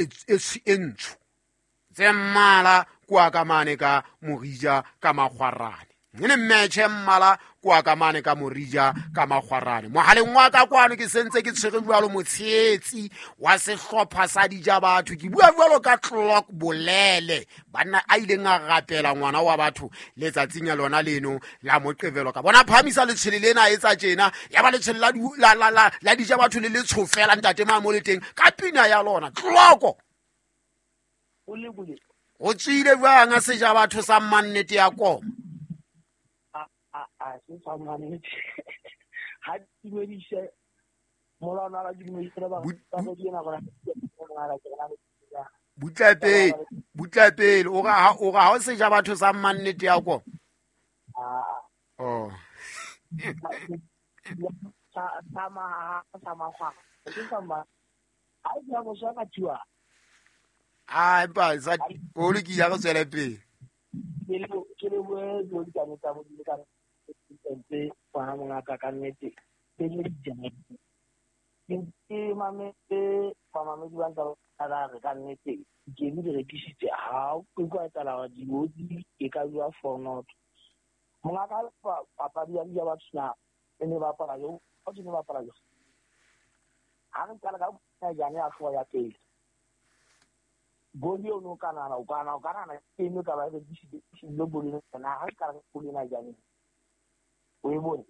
e ntsho tse mmala kua ka mane ka Morija ka Makgwarane. Ne mmetšhe mmala kua ka mane ka Morija ka Makgwarane. Mogaleng wa ka kwano ke sentse ke tshwere jalo motsheetsi wa sehlopha sa dija batho. Ke bua jalo ka Clock Bolele, banna a ileng a rapela ngwana wa batho letsatsing ya lona leno la Moqebelo. Ka bona phamisa letshwele lena e tsa tjena, ya ba letshwele la dija batho le letsho fela ntate ma mo le teng ka pina ya lona. Clock o tswile jwang a seja batho sa mmannete ya koma? A se sa mmannete. Ha dumedise molana la dumedise ba ba di ena gona. Butla pele, butla pele o ga o seja batho sa mmannete ya koma. Oh. Sa ma sa ma gwa. Ke sa ma. A ya go sa ka tshwa. A ba sa o le ke ya go tswela pele. Ke le bue dilo di ka tsa modimo ka ntse kwa mongaka ka nnete. Ke le dijana. Ke mametse ba mamedi ba ntse ba re ka nnete ke di rekisitse ha o kwa tsala wa di e ka bua for not. Mongaka papadi ya di ba tsna e ne ba para yo, o ne ba para yo. Ha re qala ka jana ya hloa ya pele. Goli o no kana o kana o kana ke no ka ba re di goli na ha ka re goli na jane. O e bone.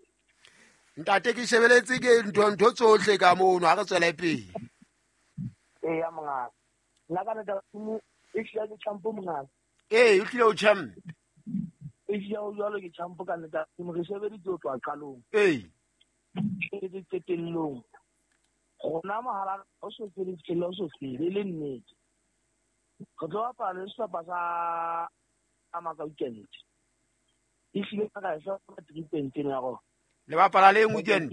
Ntate ke shebeletse ke ntho tsohle ka mono ha re tswele pele. Eh ya mongaka. Nna ka nna mo e hlile ke champo mongaka. Eh o hlile o champ. E hlile o jwalo ke champo ka nna mo re shebeditse o tswa qalong. Eh. Ke qetellong. Rona mohala o so tsele tsele o so tsele le nnete. Re tlo bapala le sehlopha sa Amaka weekend. E hlile ka sa 3 points ya go. Le bapala le weekend.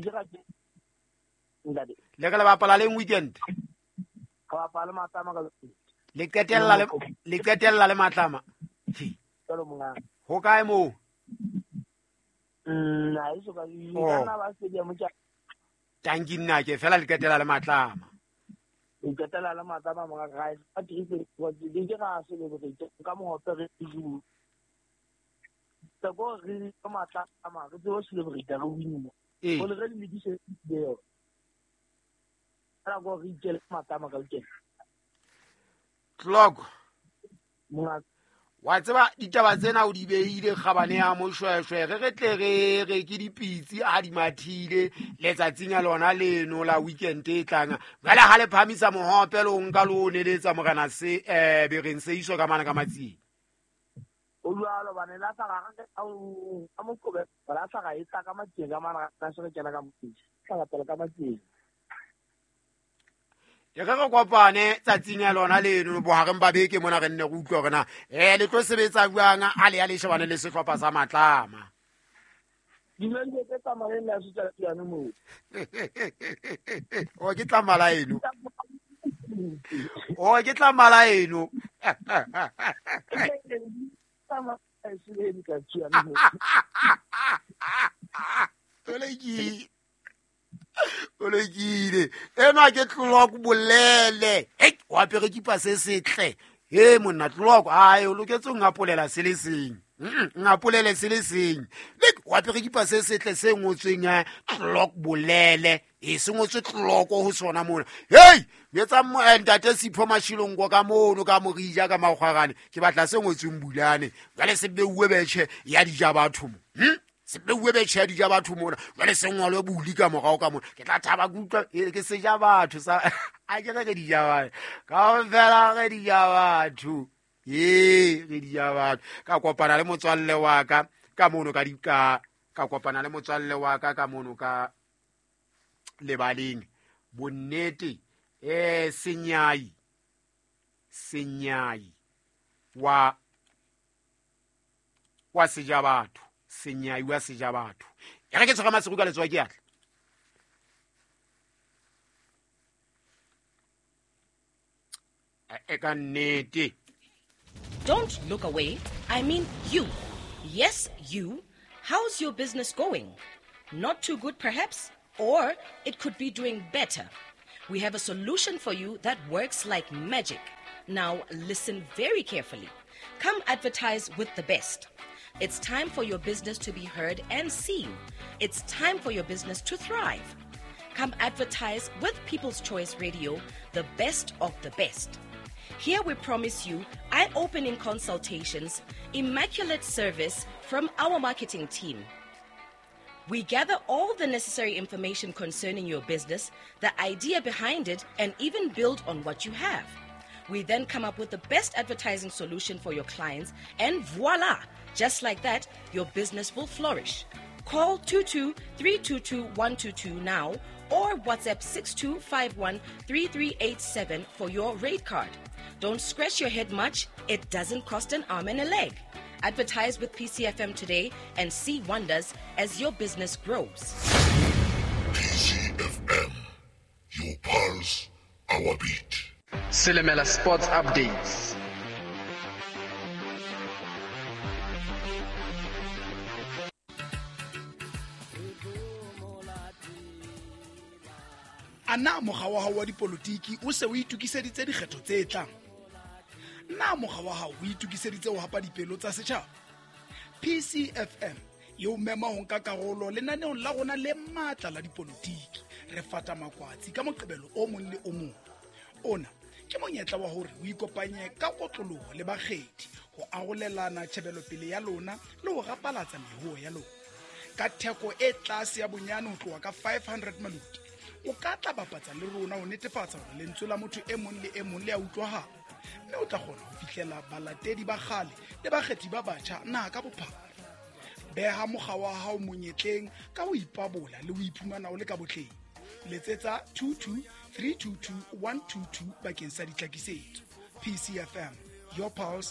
Ntate. Le ka le bapala le weekend. Ka bapala Matlama ka weekend. Le qetella le Matlama. Jalo mongaka. Ho kae moo? Nna e so ka nna ba stadium tsa. Tanki nna ke fela le qetella le Matlama. Le qetella le Matlama mongaka ga e sa 3 points di ke ga se le boreitse ka mohope re ju. Tsa go re ka Matlama re tlo celebrate re win. Ee. O le re le di se deo. Ra go re itse Matlama ka weekend. Clock. Mongaka. Wa tseba ditaba tsena o di beile kgabane ya moshweshwe re tle re re ke dipitsi a di mathile letsatsing ya lona leno la weekend e tlang. Jwale ha le phamisa mohope le o nka le o neletsa morena se bereng se iso ka mana ka matsing. O jwalo bane la tla ga ka mokobe la tla ga e tla ka matsing ka mana ka se re kena ka motsing. Tla pela ka matsing. E re re kopane tsatsing ya lona leno bohareng ba beke mona re nne re utlwe hore na le tlo sebetsa jwang a le ya le shebane le sehlopha sa Matlama. Dilong tse tsamayeng le ya setswana moo. O ke tla mala eno. O ke tla mala eno. Olekile. Ena ke Clock Bolele. Hei, o apere kipa se setle. He monna Clock, ai o loketse ho ngapolela se le seng. Ngapolele se le seng. Lek o apere kipa se setle se ngotsweng Clock Bolele. E se ngotswe Clock ho sona mona. Hei, etsa ntate Sipho Mashilongo ka mono ka Morija ka Makgwarane. Ke batla se ngotsweng Bulane. Jwale se beuwe betjhe ya dija batho mo. Se beuwe betjhe ya dija batho mona. Jwale se ngolwe buli ka morao ka mona. Ke tla thaba ke utlwa ke seja batho sa a ke re dija batho. Kaofela re dija batho. Ee, re dija batho. Ka kopana le motswalle wa ka ka mono ka dika, ka kopana le motswalle wa ka ka mono ka lebaleng. Bonnete senyai wa seja batho. Senyai wa seja batho. E re ke tshwara masigo ka letsoho ke atla. E ka nnete. Don't look away. I mean you. Yes, you. How's your business going? Not too good, perhaps? Or it could be doing better. We have a solution for you that works like magic. Now, listen very carefully. Come advertise with the best. It's time for your business to be heard and seen. It's time for your business to thrive. Come advertise with People's Choice Radio, the best of the best. Here we promise you eye opening consultations, immaculate service from our marketing team. We gather all the necessary information concerning your business, the idea behind it, and even build on what you have. We then come up with the best advertising solution for your clients, and voila! Just like that, your business will flourish. Call 22 322 122 now or WhatsApp 6251 3387 for your rate card. Don't scratch your head much, it doesn't cost an arm and a leg. Advertise with PCFM today and see wonders as your business grows. PCFM, your pulse, our beat. Silimela Sports Updates. A na mokga wa hao wa dipolotiki o se o itokiseditse dikgetho tse tlang? Na mokga wa hao o itokiseditse ho hapa dipelo tsa setjhaba? PCFM e o mema ho nka karolo lenaneong la rona le matla la dipolotiki. Re fata makwatsi ka Moqebelo o mong le o mong. Ona ke monyetla wa hore o ikopanye ka kotloloho le bakgethi ho arolelana tjhebelopele ya lona le ho rapalatsa mehuo ya lona. Ka theko e tlase ya bonyane ho tloha ka 500 maluti, o ka tla bapatsa le rona ho netefatsa hore lentswe la motho e mong le e mong le a utlwahala, mme o tla kgona ho fihlela balatedi ba kgale le bakgethi ba batjha naha ka bophara. Beha mokga wa hao monyetleng ka ho ipabola le ho iphumana o le ka botleng. Letsetsa 22 322 122 bakeng sa ditlhakisetso. PCFM, your pulse,